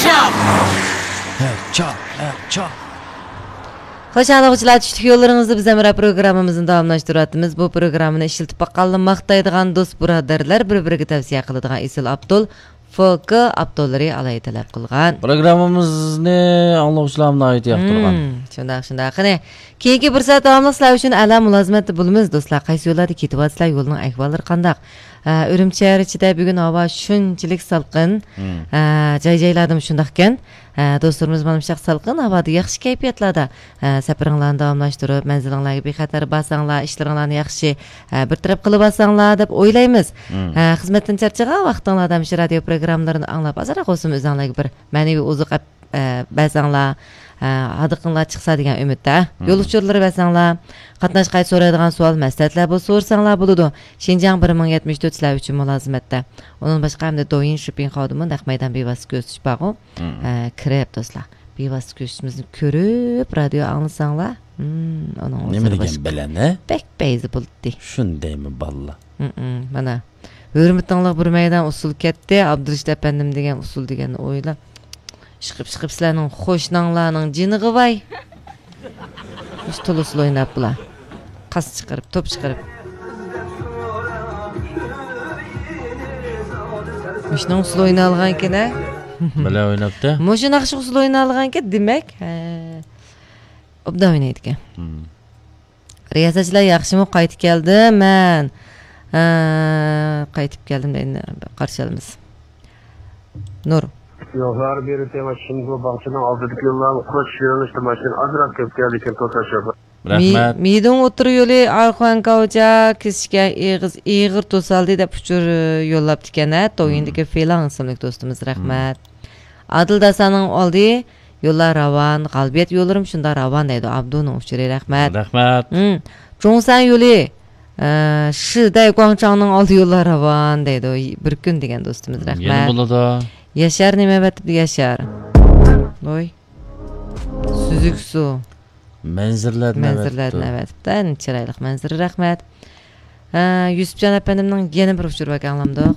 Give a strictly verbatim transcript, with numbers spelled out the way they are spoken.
چاپ، ھە، چاپ. خوش، ئاڭلىغۇچىلار، چۈشلۈك يوللىرىڭىزدا بىز ھەمراھ پروگراممىمىزنى داۋاملاشتۇرۇۋاتىمىز. بۇ پروگراممىنى ئىشلىتىپ باققانلا ماختايدىغان دوست بۇرادەرلەر، بىر-بىرىگە تەۋسىيە قىلىدىغان ئېسىل ئاپتول، فوكا ئاپتوللىرى ئالاھىدە تەلەپ قىلغان. پروگراممىمىزنى ئاڭلىغۇچىلارمۇ ناھايىتى ياقتۇرغان. مم، شۇنداق، شۇنداق. قېنى، كېيىنكى بىر سائەت داۋاملىق سىلەر ئۈچۈن ئەلا مۇلازىمەتتە بولىمىز، دوستلار. قايسى يوللاردا كېتىۋاتىسىلەر، يولنىڭ ئەھۋاللىرى قانداق؟ ئە، ئۈرۈمچى شەھەر ئىچىدە بۈگۈن ھاۋا شۇنچىلىك سالقىن. مم. ئە، جاي-جايلاردىمۇ شۇنداقكەن. ئە، دوستلىرىمىز مانا مۇشۇنداق سالقىن ھاۋادا ياخشى كەيپىياتلاردا، ئە، سەپىرىڭلارنى داۋاملاشتۇرۇپ، مەنزىلىڭلارغا بىخەتەر بارساڭلار، ئىشلىرىڭلارنى ياخشى، ئە، بىر تەرەپ قىلىۋالساڭلار دەپ ئويلايمىز. مم. ئە، خىزمەتتىن چارچىغان ۋاقتىڭلاردا مۇشۇ رادىيو پروگراممىلىرىنى ئاڭلاپ، ئازراق بولسىمۇ ئۆزۈڭلارغا بىر مەنىۋى ئوزۇق ئەپ ئە، بەرسەڭلار، ئە، ھاردۇقۇڭلار چىقسا دېگەن ئۈمىدتە. مم. يول ئۇچۇرلىرى بەرسەڭلار، قاتناش قايتا سورايدىغان سوئال، مەسلىھەتلەر بولسا سورىساڭلار بولىدۇ. شىنجاڭ بىر مىڭ يەتمىش تۆت سىلەر ئۈچۈن مۇلازىمەتتە. ئۇنىڭدىن باشقا ئەمدى دويىن شوپىڭ خاۋدىمۇ نەق مەيدان بىۋاسىتە كۆرسىتىش بارغۇ. مم. ئە، كىرىپ دوستلار. بىۋاسىتە كۆرسىتىشىمىزنى كۆرۈپ رادىيو ئاڭلىساڭلار، مم، ئۇنىڭ نېمە ئۆزى دېگەن باشقا. بىلەن، ھە؟ بەك پەيزى بولاتتى. شۇندايمۇ باللا؟ مم، مانا. ھۆرمىتىڭلار بىر مەيدان ئۇسسۇل كەتتى، ئابدۇرېشىت ئەپەندىم دېگەن ئۇسسۇل دېگەننى ئويلا. ئىشقىپ، ئىشقىپ سىلەرنىڭ قوشناڭلارنىڭ جېنىغا ۋاي. مۇشۇ تولا ئۇسسۇل ئويناپ بۇلار. قاس چىقىرىپ، توپ چىقىرىپ. مۇشۇنىڭ ئۇسسۇل ئوينالغانكەن ھە؟ بىلە ئويناپتۇ. مۇشۇ ناخشا ئۇسسۇل ئوينالغانكەن دېمەك. ھە. ئوبدان ئوينايدىكەن. مم. رىياسەتچىلەر ياخشىمۇ؟ قايتىپ كەلدىم مەن. ھە، قايتىپ كەلدىم دەيدۇ. قارشى ئالىمىز. نۇر. يوللار بېرى تېڭىشىمغۇ باغچىنىڭ ئالدىدىكى يوللارغا قوش يۆنىلىشتە ماشىنا ئازراق كۆپ كەلدىكەن، توساش يوق. رەھمەت. مىدۇڭ ئوتتۇرا يولى ئارخۇەن كاۋجا كېسىشكە ئېغىز، ئېغىر توسالدى دەپ ئۇچۇر يوللاپتىكەن ھە. تويىندىكى فېلان ئىسىملىك دوستىمىز، رەھمەت. ئادىل داسانىڭ ئالدى يوللار راۋان، غالىبىيەت يوللىرىمۇ شۇنداق راۋان دەيدۇ ئابدۇنىڭ ئۇچۇرى، رەھمەت. رەھمەت. مم. جۇڭسەن يولى، ئە، شىدەي گۇاڭچاڭنىڭ ئالدى يوللار راۋان دەيدۇ. بىر كۈن دېگەن دوستىمىز، رەھمەت. يەنە بولىدۇ. ياشار نېمە ئەۋەتىپتۇ، ياشار؟ ۋوي. سۈزۈك سۇ. مەنزىرىلەردىن مەنزىرىلەردىن ئەۋەتىپتۇ. ئەۋەتىپتۇ. چىرايلىق مەنزىرە، رەھمەت. ھە، يۈسۈپجان ئەپەندىمنىڭ يەنە بىر ئۇچۇرى باركەن، ئاڭلامدۇق.